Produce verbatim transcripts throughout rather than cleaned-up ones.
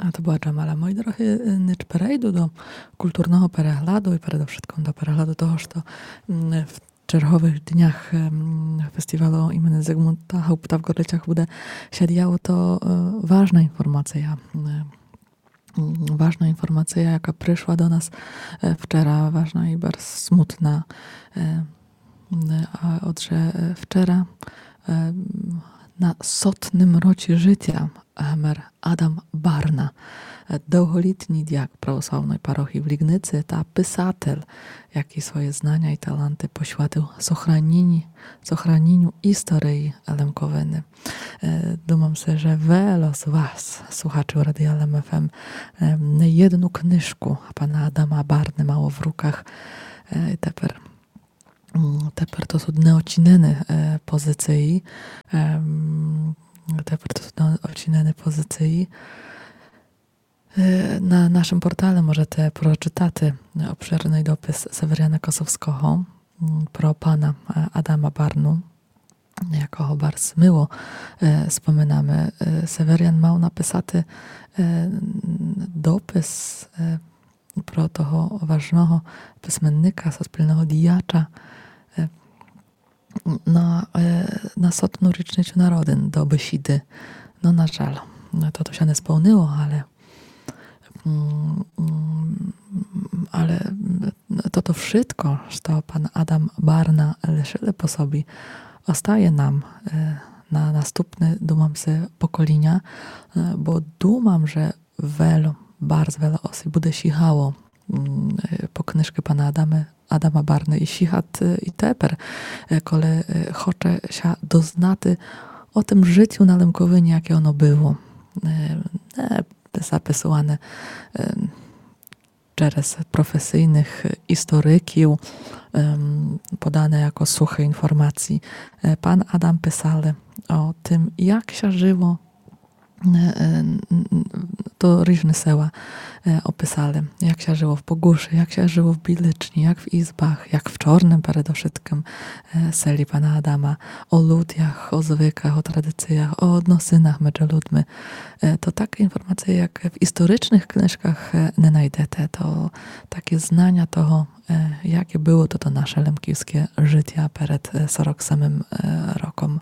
А то была Джамала. Мої дорогы, е, нич перейду до културного перегляду і передовшытком до перегляду того, што, м, в черговых днях, ем, фестівалу імени Зигмунда Гаупта в Ґорлицях буде ся діяло, то, е, важна інформація, е, м, важна інформація, яка пришла до нас, е, вчера, важна і барз смутна. Е, м, а отже, е, вчера, е, м, на сотным році жытя гмер Адам Барна, е, довголітній діяк православної парохії в Лігниці та писатель, який своє знаня і таланты посвятив сохраніню, сохраніню історії Лемковины. Е, думам си, же вело з вас, слухачів Радія Лем ФМ, е, не єдну книжку пана Адама Барны мало в руках. Е, і тепер, м, тепер то суть неочинены, е, позиції. Ем, тепер то суть неочинены позиції. Е, на нашым портале можете прочытати обширный допис Северяна Косовского, м, про пана, е, Адама Барну, якого барз мило, е, споминаме. Е, Северян мав написати, е, допис, е, про того важного писменника, суспільного діяча, е, на, е, на сотну річницю народин до бесіды. Но, на жаль, но, то, то ся не сполнило, але, м, м, але, м, то, то вшытко, што пан Адам Барна лишили по собі, остає нам, е, на наступне, думам си, поколіня, е, бо думам, же вело, барз вело осіб буде сігало, м, е, по книжкы пана Адамы, Адама Барны і сігат, е, і тепер, е, коли, е, хоче ся дознати о тым жытю на Лемківині, яке оно было. Е, не записуване, е, через професійных істориків, ем, подане яко сухы інформації. Е, пан Адам писали о тым, як ся жило, е, е, н-, н-, то ріжны села, е, описали, як ся жило в Богушы, як ся жило в Біличні, як в Ізбах, як в Чорным передовшыткым, е, селі пана Адама, о людях, о звыках, о традиціях, о односинах меджі людми. Е, то такы інформації, як в історичных книжках, е, не найдете. То такє знаня того, е, яке было тото наше лемківске жытя перед, е, сорок семым, е, роком.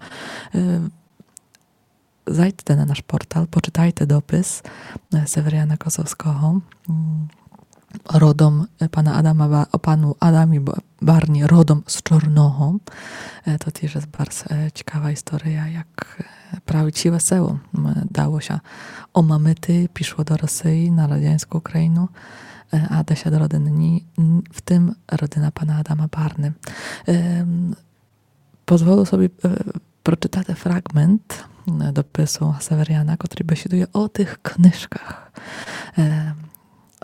Е, зайдте на наш портал, почытайте допис, е, Северяна Косовского, м, родом, е, пана Адама Ба-, о пану Адамі Ба-, Барні родом з Чорного. Е, то тіж єст барз, е, цікава істория, як, е, праві ціле село, м, дало ся омамити, пішло до Росії, на радяньску Україну, е, а десят родин ні, н-, в тым родина пана Адама Барны. Ем, Позволю собі, е, прочытати фраґмент, е, допису Северяна, котрый бесідує о тых книжках. Е,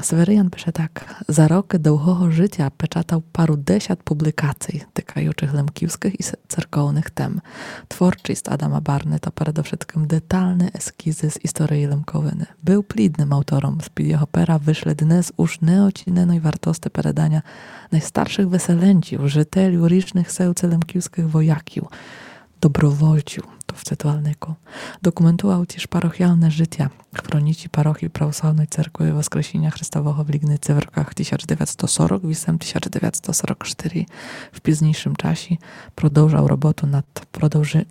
Северян пише так: «За рокы довгого жытя печатав пару десят публікацій, тыкаючых лемківскых і с-, церковных тем. Творчіст Адама Барны то передовшыткым деталны ескізы з історії Лемковины. Был плідным автором, з-під його пера вышли днес уж неоціненой вартости переданя найстаршых выселенців, жытелів ріжных сел ци лемківскых вояків, добровольців», то в цитувальнику. Документував тіж парохіалне жытя в хроніці Парохії Православной Церкви Воскресіня Христового в Лігниці в роках тисяч девятсто сорок вісем, тисяч девятсто сорок штыри. В пізнійшым часі продовжав роботу над продовжи-,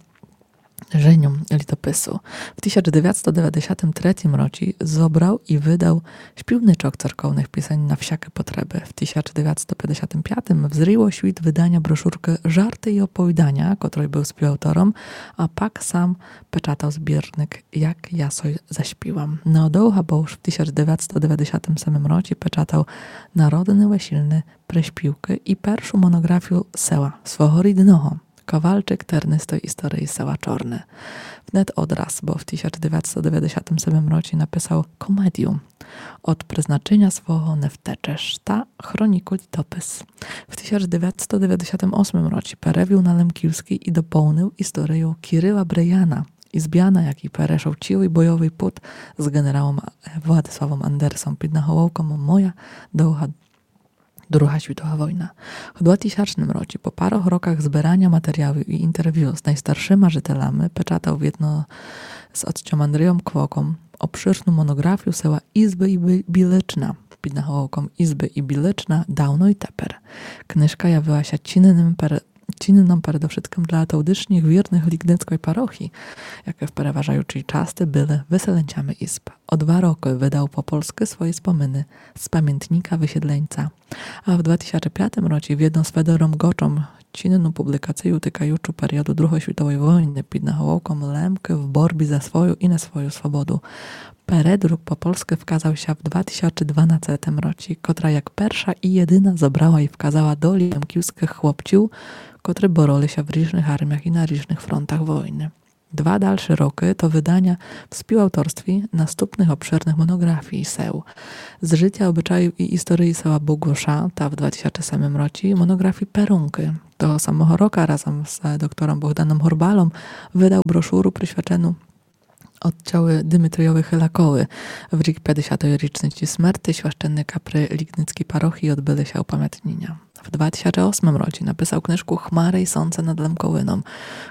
женьом літопису. В тисяч девятсто девятдесятым третім році зобрав і выдав «Співничок церковных пісень на всякы потребы». В тисяч девятсто пятдесятым пятім взріло світ выданя брошуркы «Жарты і оповіданя», котрой был співавтором, а пак сам печатав збірник «Як я сой заспівам». Неодовга, бо уж в тисяч девятсто девятдесятым семым році печатав «Народны весільны приспівкы» і першу моноґрафію села, свого рідного, кавалчик тернистой історії села Чорне. Внет одраз, бо в тисяч девятсто девятдесятым семым році написав комедію «Од призначеня свого не втечеш» та хроніку літопис. В тисяч девятсто девятдесятым осмым році перевів на лемківскій і доповнив історію Кірила Бреяна, ізбяна, якій перешов цілый бойовый пут з ґенералом, е, Владиславом Андерсом під наголовком «Моя довга Друга світова война». В дватисячным році, по парох роках збираня матеріалів і інтервю з найстаршыма жытелями, печатав єдно з отцьом Андрієм Квоком обширну моноґрафію села Ізбы і Бі-, Білична під наголовком Ізбы і Білична давно і тепер. Книжка явила ся цінным пере-, цінным передовшыткым для тодішніх вірных Лігницькой парохії, якы в переважаючій части были выселенцями Ізб. О два рокы выдал по польскы свої спомины з памятника высідлінця. А в два тисячы пятым році вєдно з Федором Ґочом цінну публікацію тыкаючу періоду Другой світовой войны під наголовком Лемкы в борбі за свою і не свою свободу. Передрук по польскы вказал ся в два тисячы дванадцятым році, котра як перша і єдина зобрала і вказала долі лемківскых хлопців, котры бороли ся в ріжных арміях і на ріжных фронтах войны. Два дальшы рокы то выданя в співавторстві наступных обширных моноґрафій сел з жытя, обычаїв і історії села Богуша, та в два тисячы семым році моноґрафії Перункы. Того самого рока разом з доктором Богданом Горбалом выдал брошуру присвячену отцьови Димитрийови Хилакови. В рік пятдесятой річниці смерти священника при Лігницькій парохії одбыли ся упамятніня. В два тисячы осмым році написал книжку Хмары і сонце над Лемковином,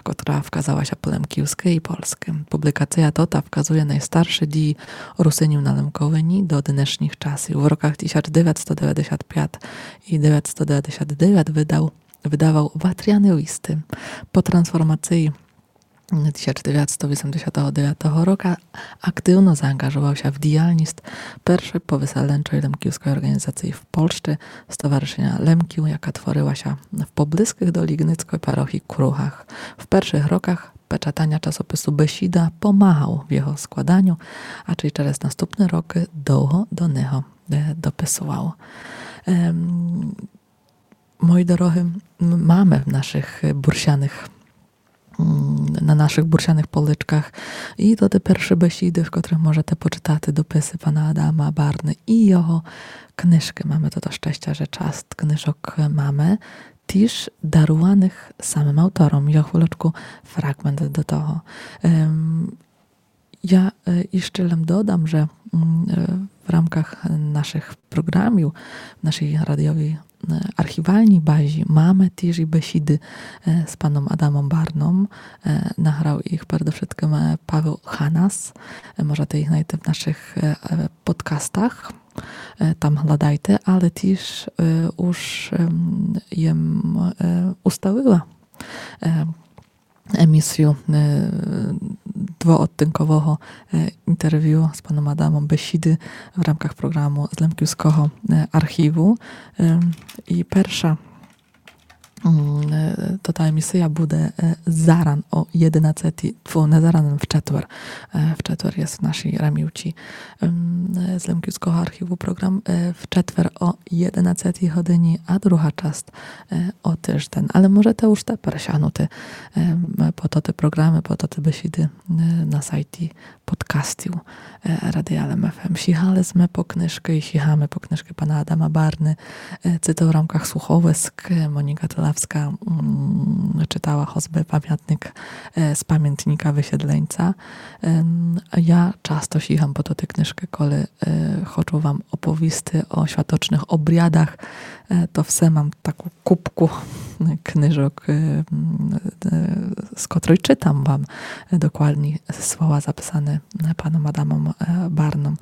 котра вказала ся по лемківскы і польскы. Публікація тота вказує найстаршы дії Русинів на Лемковині до днешніх часів. В роках тисяч девятсто девятдесят пять і девятсто девятдесят девять выдал, выдавал Ватряны листы. По трансформації тисяч девятсто вісемдесятого девятого рока активно заанґажовал ся в діялность першой повыселенчой лемківской орґанізації в Польщі, Стоваришыня Лемків, яка творила ся в поблизкых до Лігницькой парохії кругах. В першых роках печатаня часопису Бесіда помагал в його складаню, а чей через наступны рокы довго до нього, е, дописовал. Ем, Мої дорогы, м-, маме в нашых, е, бурсяных, м, на нашых бурсяных поличках і тоты першы бесіды, в котрых можете почытати дописы пана Адама Барны і його книжкы. Маме тото щестя, же част книжок маме тіж даруваных самым автором. Я хвилечку фраґмент до того. Ем, Я, е, іщы лем додам, же, м, е, в рамках нашых програмів, в нашій радіовій, е, архівальній базі маме тіж і бесіды, е, з паном Адамом Барном. Е, награл їх передовшыткым, е, Павел Ханас. Е, можете їх найти в нашых, е, е, подкастах. Е, там гладайте, але тіж, е, уж, ем, єм, е, уставила, е, емісію, е, двоодтинкового, е, інтервю з паном Адамом, бесіды в рамках програму з Лемківского, е, архіву. Е, і перша, м, е, то та емісія буде, е, заран о єдинадцятій, тьфу, не заран, в четвер. Е, в четвер єст в нашій рамівці, ем, е, з Лемківского архіву програм, е, в четвер о єдинадцятій годині, а друга част, е, о тыжден. Але можете уж тепер сягнути, ем, по тоты програмы, по тоты бесіды, е, на сайті подкастів, е, Радія Лем ФМ. Сігали сме по книжкы і сігаме по книжкы пана Адама Барны. Е, ци то в рамках слуховиск, е, Моніка Тылавска, м, чытала хозбы памятник, е, з памятника высідлінця. Ем, я часто сігам по тоты книжкы, коли, е, хочу вам оповісти о святочных обрядах. Е, то все мам таку купку книжок, е, м, е, з котрой чытам вам, е, докладні слова записаны, е, паном Адамом, е, Барном.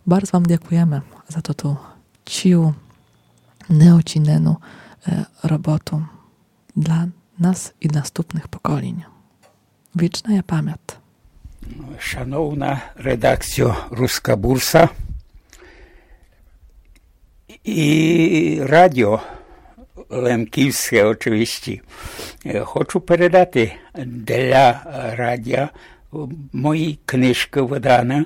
Барз вам дякуєме за тоту цілу неоцінену, е, роботу для нас і наступных поколінь. Вічна є память. Шановна редакція Руска Бурса і радіо Лемківске, очевидно. Е, хочу передати для радіо мої книжкы выданы,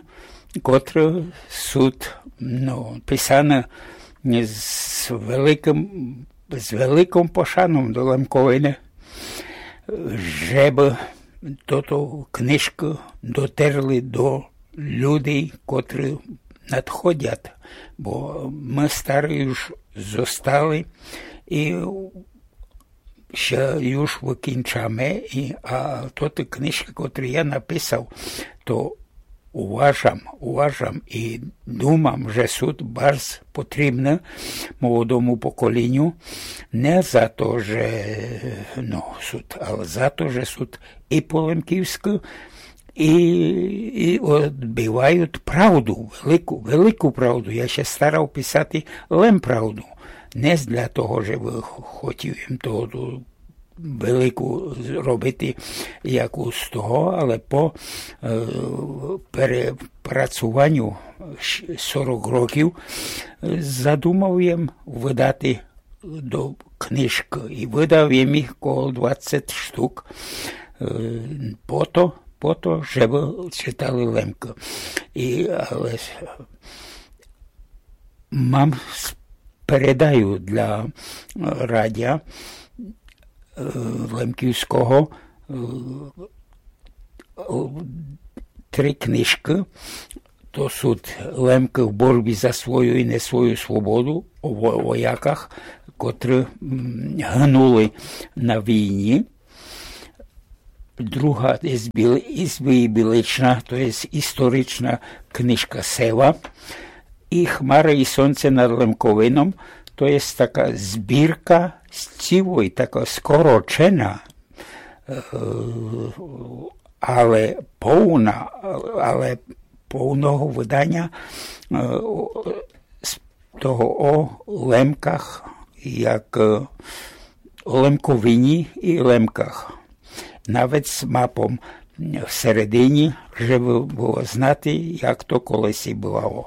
котры сут, ну, писаны з великым, з великым пошаном до Лемковины, жебы тото книжкы дотерли до людей, котры надходять, бо мы стары уж зостали і ся уж выкінчаме, і, а тоты книжкы, котры я написав, то уважам, уважам і думам, же сут барз потрібны молодому поколіню, не за то, же, ну, сут, але за то, же сут і по лемківскы, і, і одбивають правду, велику, велику правду. Я ся старав писати лем правду. Не для того, щоб хотів им того велику зробити якусь з того, але по е, перепрацуванню щ- сорок років е, задумав єм выдати до книжкы і выдав єм їх коло двадцять штук. Е, Пото, пото, щоб читали Лемкы. І, але с- мам с- передаю для е, радя е, Лемківського е, три книжкы. То суть Лемкы в борбі за свою і не свою свободу, о во- вояках, котры м, гнули на війні. Друга із, біл, із Білична, то є історична книжка Сева. І Хмара і сонце над Лемковином, то є така збірка сцівой, така скорочена, е, але повна, але повного выданя е, з того о Лемках, як е, о Лемковині і Лемках. Навіть з мапом всередині, щоб было знати, як то колись бывало.